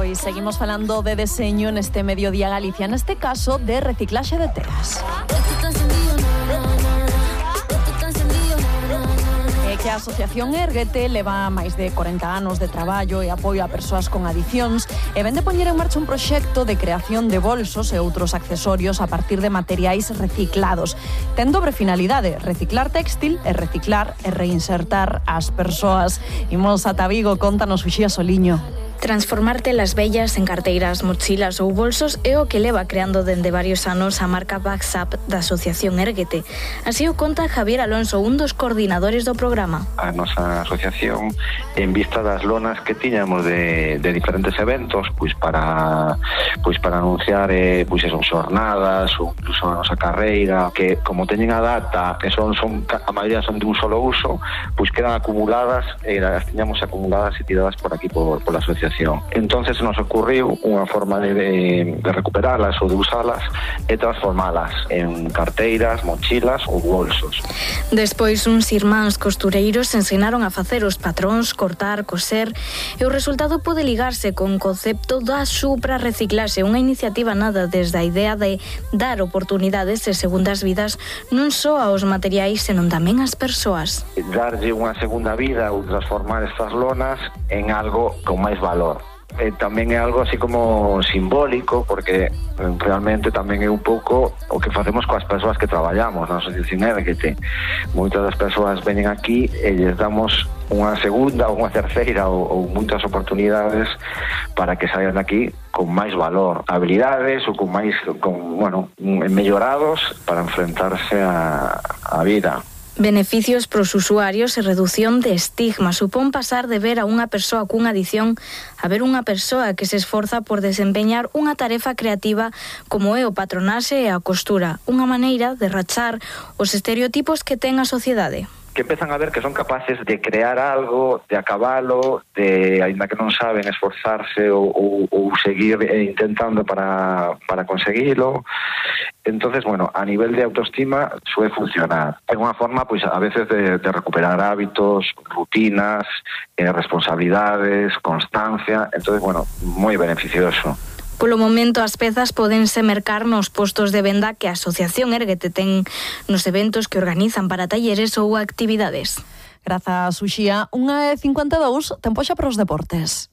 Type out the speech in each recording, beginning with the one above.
Pois seguimos falando de deseño neste Mediodía Galicia, neste caso de reciclaxe de telas. É que a Asociación Érguete leva máis de 40 anos de traballo e apoio a persoas con adiccións e vén de poñer en marcha un proxecto de creación de bolsos e outros accesorios a partir de materiais reciclados. Ten dobre finalidade, reciclar téxtil e reciclar e reinsertar as persoas. Imos ata Vigo, contanos Uxía Soliño. Transformar telas vellas en carteiras, mochilas ou bolsos é o que leva creando dende varios anos a marca Backsap da Asociación Érguete. Así o conta Javier Alonso, un dos coordinadores do programa. A nosa asociación, en vista das lonas que tiñamos de diferentes eventos, pois para anunciar pois esas xornadas ou incluso a nosa carreira, que como teñen a data, que son a maioría son de un solo uso, pois quedan acumuladas e as tiñamos acumuladas e tiradas por aquí pola asociación. Entonces nos ocurriu unha forma de recuperalas ou de usalas e transformalas en carteiras, mochilas ou bolsos. Despois uns irmáns costureiros ensinaron a facer os patróns, cortar, coser e o resultado pode ligarse con o concepto da supra-reciclaxe, unha iniciativa nada desde a idea de dar oportunidades e segundas vidas non só aos materiais, senón tamén ás persoas. Darlle unha segunda vida ou transformar estas lonas en algo con máis valor. Tamén é algo así como simbólico, porque realmente tamén é un pouco o que facemos coas persoas que traballamos na Asociación Érguete. Moitas das persoas veñen aquí e lles damos unha segunda ou unha terceira ou moitas oportunidades para que saian daqui con máis valor, habilidades ou con mellorados para enfrentarse a vida. Beneficios pros usuarios e redución de estigma. Supón pasar de ver a unha persoa cunha adicción a ver unha persoa que se esforza por desempeñar unha tarefa creativa como é o patronaxe e a costura, unha maneira de rachar os estereotipos que ten a sociedade. Que empezan a ver que son capaces de crear algo, de acabalo, de, ainda que non saben, esforzarse ou seguir intentando para conseguilo. Entonces, a nivel de autoestima suele funcionar. É unha forma, pois, a veces de recuperar hábitos, rutinas, responsabilidades, constancia. Entonces, moi beneficioso. Polo momento, as pezas pódense mercar nos postos de venda que a Asociación Érguete ten nos eventos que organizan para talleres ou actividades. Grazas, Uxía. 1:52, tempo xa para os deportes.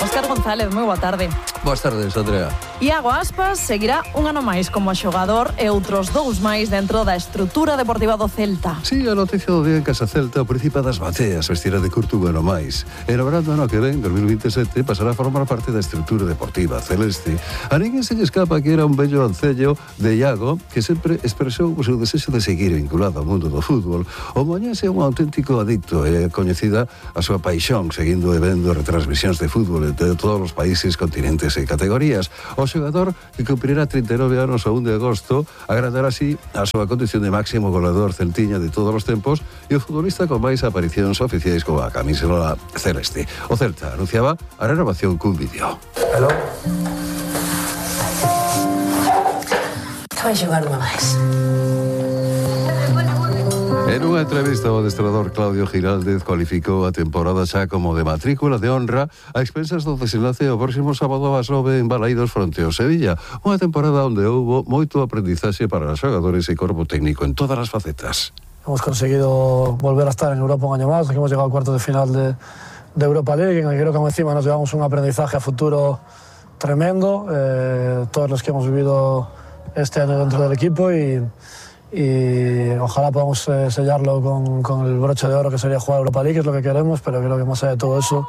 Óscar González, moi boa tarde. Boas tardes, Andrea. Iago Aspas seguirá un ano máis como xogador e outros 2 máis dentro da estrutura deportiva do Celta. Sí, a noticia do día en Casa Celta, o príncipe das bateas vestirá de curto un ano máis. E no verano ano que ven, 2027, pasará a formar parte da estrutura deportiva celeste. A ninguén se lle escapa que era un bello ancello de Iago que sempre expresou o seu desexo de seguir vinculado ao mundo do fútbol. O moñense é un auténtico adicto e coñecida a súa paixón seguindo e vendo retransmisións de fútbol de todos os países, continentes e categorías. O xogador que cumprirá 39 anos a 1 de agosto agradará así a súa condición de máximo goleador celtiña de todos os tempos e o futbolista con máis aparicións oficiais coa camisola celeste. O Celta anunciaba a renovación cun vídeo. Hello? Que vai xogar unha máis? En unha entrevista, o adestrador Claudio Giraldez cualificou a temporada xa como de matrícula de honra a expensas do desenlace o próximo sábado ás 9 en Balaídos fronte ao Sevilla. Unha temporada onde houbo moito aprendizaxe para os xogadores e corpo técnico en todas as facetas. Hemos conseguido volver a estar en Europa un año más, hemos llegado al cuarto de final de Europa League, en el que creo que encima nos llevamos un aprendizaje a futuro tremendo, todos los que hemos vivido este año dentro del equipo y ojalá podamos sellarlo con el broche de oro que sería jugar Europa League, que es lo que queremos, pero creo que más allá de todo eso,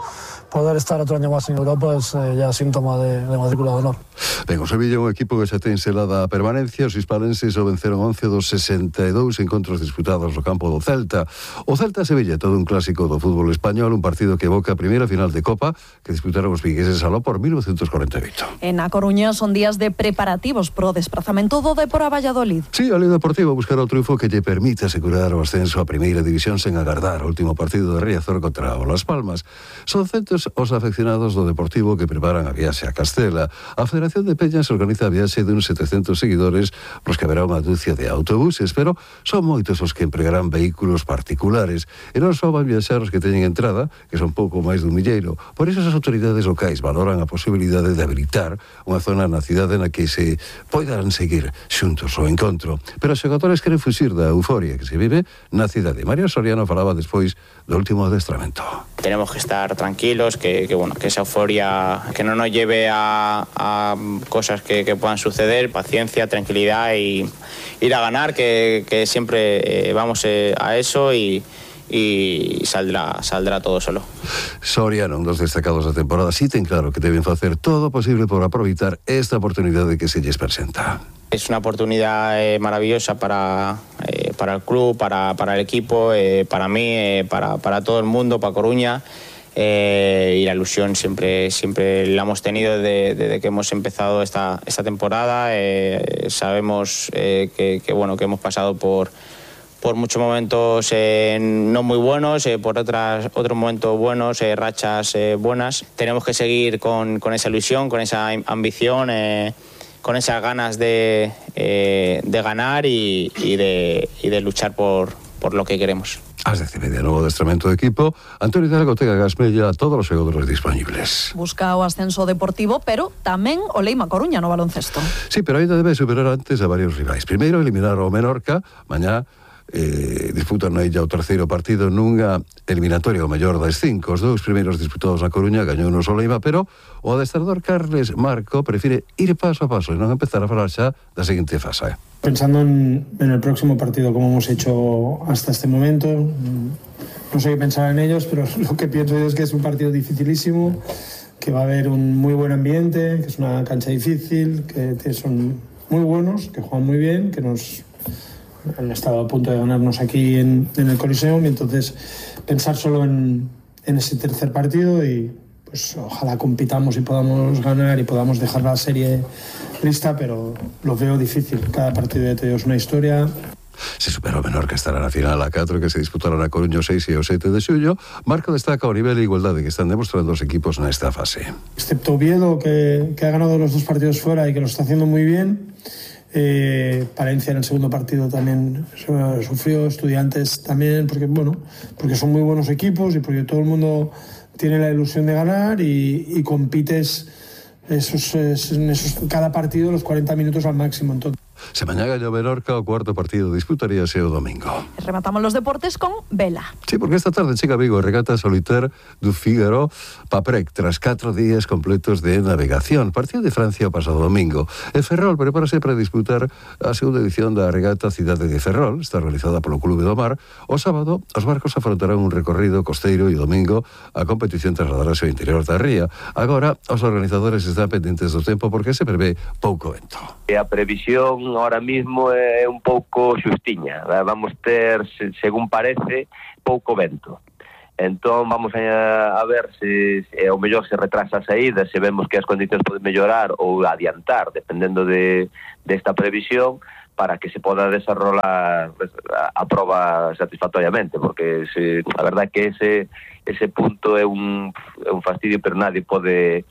poder estar otro año más en Europa es ya síntoma de matrícula de honor. Ben, o Sevilla é un equipo que xa ten selada a permanencia. Os hispalenses o venceron 11 dos 62 encontros disputados no campo do Celta. O Celta-Sevilla é todo un clásico do fútbol español, un partido que evoca a primeira final de Copa que disputaron os vigueses aló por 1948. En A Coruña son días de preparativos pro desprazamento do Depor a Valladolid. Sí, o Lío Deportivo a buscar o triunfo que lle permite asegurar o ascenso a primeira división sen agardar o último partido de Riazor contra o Las Palmas. Son centos os afeccionados do Deportivo que preparan a viaxe a Castela. A Federación de Peñas organiza a viaxe de uns 700 seguidores pros que haberá unha dúcia de autobuses, pero son moitos os que empregarán vehículos particulares e non só van viaxar os que teñen entrada, que son pouco máis dun milleiro. Por iso as autoridades locais valoran a posibilidade de habilitar unha zona na cidade na que se poidan seguir xuntos o encontro. Pero os xogadores queren fuxir da euforia que se vive na cidade. Mario Soriano falaba despois do último adestramento. Tenemos que estar tranquilos, que esa euforia que no nos lleve a cosas que puedan suceder, paciencia, tranquilidad y ir a ganar, que siempre vamos a eso y saldrá todo solo. Soriano, un dos destacados da temporada, sí ten claro que deben facer todo o posible por aproveitar esta oportunidade que se lles presenta. Es una oportunidad maravillosa para el club, para el equipo, para mí, para todo el mundo, para Coruña. Y la ilusión siempre la hemos tenido desde que hemos empezado esta temporada. Sabemos que hemos pasado por muchos momentos no muy buenos, por otros momentos buenos, rachas buenas. Tenemos que seguir con esa ilusión, con esa ambición, con esas ganas de ganar y de luchar por lo que queremos. Ás 10:30, novo adestramento do equipo. Antonio Hidalgo ten a Gasmella a todos os xogadores disponibles. Busca o ascenso deportivo, pero tamén o Leima Coruña no baloncesto. Sí, pero ainda debe superar antes a varios rivais. Primeiro, eliminar o Menorca. Mañá disputan na illa o terceiro partido nunha eliminatoria o mellor das 5. Os dous primeiros disputados na Coruña gañou no Soleima, pero o adestrador Carles Marco prefire ir paso a paso e non empezar a falar xa da seguinte fase. Pensando en el próximo partido, como hemos hecho hasta este momento, no sé qué pensar en ellos, pero lo que pienso yo es que es un partido dificilísimo, que va a haber un muy buen ambiente, que es una cancha difícil, que son muy buenos, que juegan muy bien, que han estado a punto de ganarnos aquí en el Coliseum, y entonces pensar solo en ese tercer partido y pues ojalá compitamos y podamos ganar y podamos dejar la serie lista, pero lo veo difícil. Cada partido de Teo es una historia. Se supera o Menorca estará na final a 4 que se disputará na Coruña o 6 e o 7 de xullo. Marco destaca o nivel de igualdade que están demostrando os equipos nesta fase. Excepto Oviedo, que ha ganado los dos partidos fuera y que lo está haciendo muy bien. Palencia en el segundo partido también sufrió, Estudiantes también, porque son muy buenos equipos y porque todo el mundo tiene la ilusión de ganar y compites cada partido los 40 minutos al máximo. Entonces, se mañá gaña o Menorca, o cuarto partido disputaríase o domingo. Rematamos los deportes con vela. Sí, porque esta tarde chega a Vigo a regata solitaire do Fígaro Paprec, tras 4 días completos de navegación. Partido de Francia o pasado domingo. E Ferrol prepárase para disputar a segunda edición da regata Cidade de Ferrol, está realizada polo Clube do Mar. O sábado, os barcos afrontarán un recorrido costeiro e o domingo a competición trasladarase ao interior da ría. Agora, os organizadores están pendentes do tempo porque se prevé pouco vento. A previsión ahora mismo é un pouco xustiña. Vamos ter, según parece, pouco vento. Entón vamos a ver se ao mellor se retrasa a saída, se vemos que as condicións poden mellorar ou adiantar, dependendo desta previsión, para que se poda desarrollar a proba satisfactoriamente, porque a verdad que ese punto é un fastidio, pero nadie pode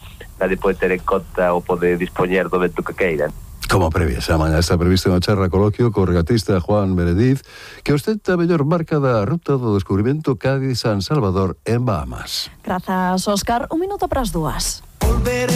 ter en conta ou pode dispoñer do vento que queira. Como previa, xa mañá está previsto unha charla coloquio co regatista Juan Meredith, que ostenta a mellor marca da ruta do descubrimento Cádiz-San Salvador en Bahamas. Grazas, Óscar. 1 minuto para as 2.